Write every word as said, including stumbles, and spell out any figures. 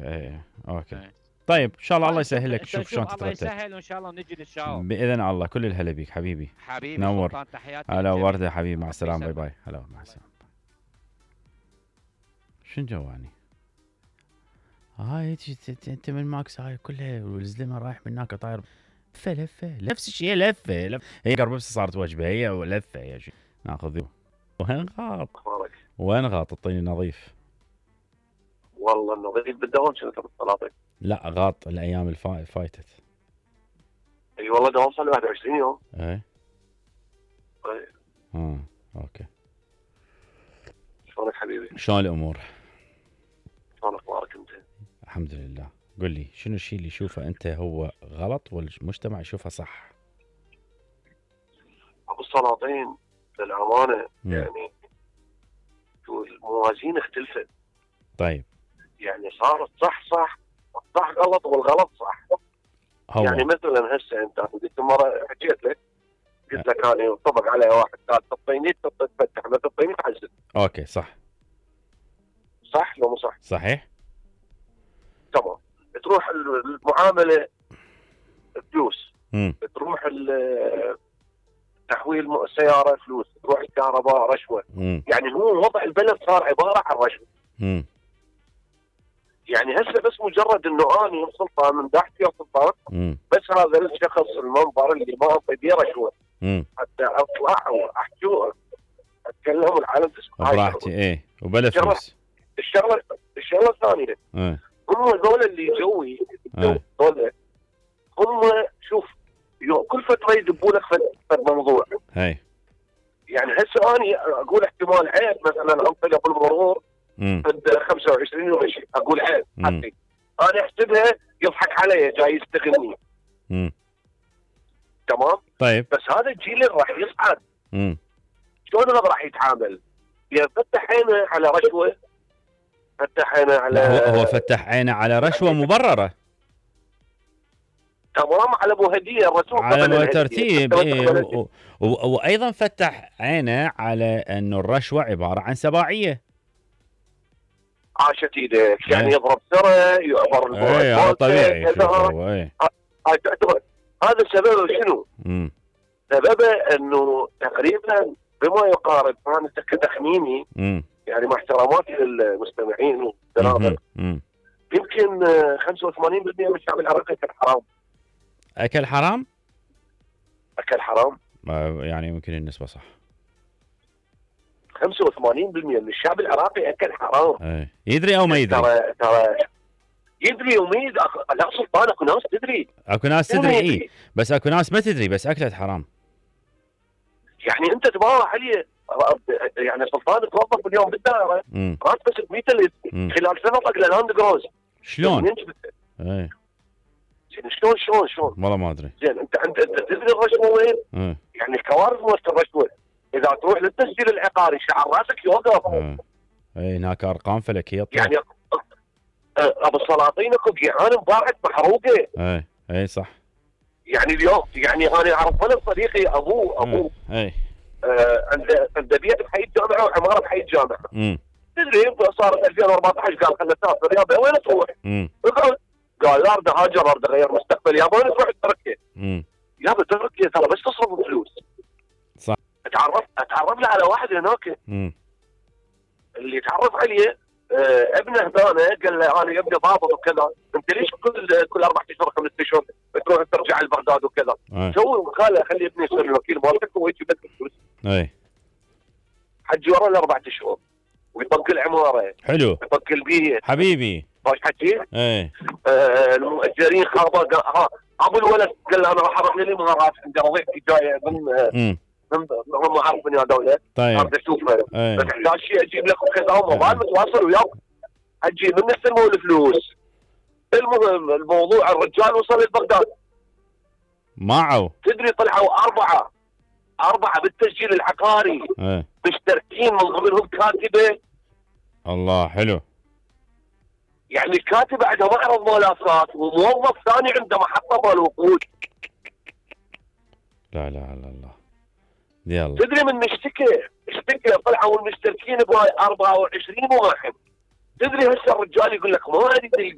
ايه اوكي ايه. طيب ان شاء الله الله يسهل لك. شوف شلون تترتب. الله يسهل وان شاء الله نجي نتشاور باذن الله. كل الهلا بيك حبيبي. حبيبي نور. سلطان تحياتي. هلا ورده حبيبي. مع السلامه. باي باي. هلا مع السلامه. شنو جواني هاي انت من ماكس هاي كلها والزلمه رايح من هناك طاير لفه لفه نفس الشيء لفه لفه. هي قربس صارت وجبه هي ولفه يا شيخ. ناخذ وين غاط وين غاط الطين نظيف والله النظيف بالدوام شنو بالطلاطي. لا غاط الايام الفايتت. اي أيوة والله دوام صار له واحد وعشرين يوم. اي اي اه اوكي. شلونك حبيبي؟ شلون الامور؟ شلون اخبارك انت؟ الحمد لله. قل لي شنو الشيء اللي يشوفه انت هو غلط والمجتمع يشوفه صح؟ ابو السلاطين للامانه م. يعني الموازين اختلفت. طيب يعني صارت صح صح الصح غلط والغلط صح. هو. يعني مثلا هسه انت قلت مره حكيت لك قلت لك انا طبق علي واحد قال تطيني تفتح ما تطيني تعزل. اوكي صح صح لو مو صح؟ صحيح تمام. تروح المعامله فلوس. امم تروح تحويل السياره فلوس. تروح الكهرباء رشوه. مم. يعني هو وضع البلد صار عباره عن رشوه. امم يعني هسه بس مجرد انه اني سلطان من تحت يا سلطان مم. بس هذا الشخص المنبر اللي ما اعطي بيه رشوه امم حتى اطلع واحكي اتكلم والعالم تسمع براحتي. ايه وبلا فلوس. الشغله الشغله الثانيه ايه هم هذول اللي جوي ايه هذول هم شوف كل فتره يدبوا لك في موضوع. هاي يعني هسه اني اقول احتمال عيب مثلا انطلق بالمرور امم عند خمسة وعشرين يوم شيء اقول عيب حقي انا احسبها يضحك علي جاي يستغلني. امم تمام. طيب بس هذا الجيل اللي راح يصعد امم شلون هذا راح يتعامل؟ يا فتح عينه على رشوه فتح عينه على هو, هو فتح عينه على رشوه مبرره. تمام. على ابو هديه الرسول على مو ترتيب. إيه وايضا فتح عينه على انه الرشوه عباره عن سباعيه. عاشت ايدك يعني ايه. يضرب سره يعبر اي هذا طبيعي. ايه. هذا سببه شنو؟ امم سببه انه تقريبا بما يقارب انا كتخميني يعني مع احتراماتي للمستمعين والسنابل يمكن خمسة وثمانين بالمئة من الشعب العراقي اكل حرام. اكل حرام؟ اكل حرام؟ يعني يمكن النسبه صح. خمسة وثمانين بالمئة من الشعب العراقي اكل حرام. اي يدري او ما يدري؟ ترى ترى يدري وما يدري. لا سلطان اكو ناس تدري. اكو ناس تدري اي بس اكو ناس ما تدري بس اكلت حرام. يعني انت تبارك عليه يعني سلطان توظف اليوم بالدائره راتبك مئة ألف خلال سنه طق لاند جروز. شلون؟ اي زين شلون شلون شلون؟ والله ما ادري. زين انت انت انت تدري الرشوه وين؟ ايه. يعني الكوارث وقت الرشوه اذا تروح للتسجيل العقاري شعر راسك يوقف. ايه اي هناك ارقام فلكيه. يعني ابو السلاطين اكو جيعان انباعت محروقه. اي اي صح. يعني اليوم يعني انا اعرف ولد صديقي ابوه ابوه اي آه عنده عنده بيت بحي الجامعه وعماره بحي الجامعه. امم تدري صار ألفين وأربعطعش قال خلنا نسافر يابا وين تروح؟ امم قال لا اريد اهاجر اريد اغير مستقبل يابا وين تروح تركيا؟ امم يابا تركيا ترى بس تصرف فلوس. صح. اتعرف اتعرف له على واحد هناك. امم اللي تعرف عليه آه ابنه هنا قال له انا ابني ضابط وكذا انت ليش كل كل اربع اشهر خمس اشهر تروح ترجع لبغداد وكذا؟ سوي خاله خلي ابني يصير الوكيل مالتك ويجي بدك فلوس. اي حجي ورا الاربع اشهر ويطق العماره. حلو. يطق البيت. حبيبي. ايش حكي؟ اي آه المؤجرين خابا ها ابو الولد قال له انا راح اروح للامارات عندي وظيفتي جايه من امم من هم عارف من هذول. طيب اريد اشوفه اي. بس احتاج شيء اجيب لك وكذا هم ما متواصل وياك اجي من يستلموا الفلوس. المهم الموضوع الرجال وصل لبغداد معه. تدري طلعوا اربعه اربعه بالتسجيل العقاري اي. مشتركين من ضمنهم كاتبه. الله حلو. يعني الكاتبه عندها معرض ملافات وموظف ثاني عنده محطه مال وقود. لا لا لا الله يلا. تدري من اشتكى اشتكى طلعوا المشتركين بهاي أربعة وعشرين واحد. تدري هسه الرجال يقول لك ما اريد البيت